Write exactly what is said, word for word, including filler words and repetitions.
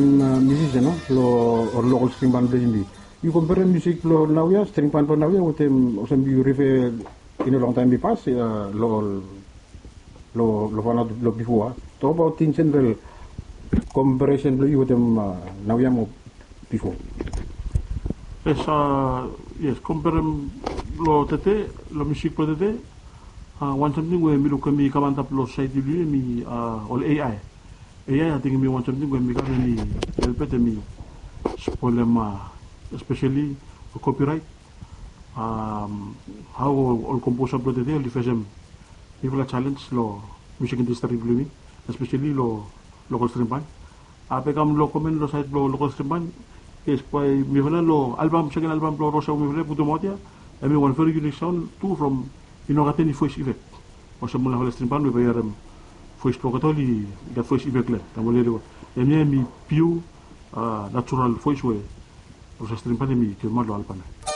Musician long lokal string band blong yumi. Yu komperem musik blong naoia, string band blong naoia wetem olsem yu rife in a long taem i pas long ol long long fanaot long bifo a. Tok abaot in jeneral komperesen blong yu wetem naoia mo bifo. Yes, yes, komperem long tede, long musik blong tede, wan samting we mi luk hemi kam antap long sosaeti blong yumi hemi ol A I. A I ating hemi wan samting we hemi kam hemi helpet hemi spolem espeseli kopiraet. Hao ol komposa blong tede oli fesem bigfala jalens long musik indastri blong yumi, espeseli long lokal string band. Bae i kam long komen long saed blong lokal string band. Yes, bae mifala long albam, seken albam blong Rosa we mifala i putumaot ia, hemi wan veri unik saon tu from i no gat eni voes efek. Olsem ol narafala string band we bae yu harem voes blong olgeta oli gat voes efek long hem taem oli rikod. Hemia hemi piu natural voes we Rosa string band hemi givimaot long albam ia.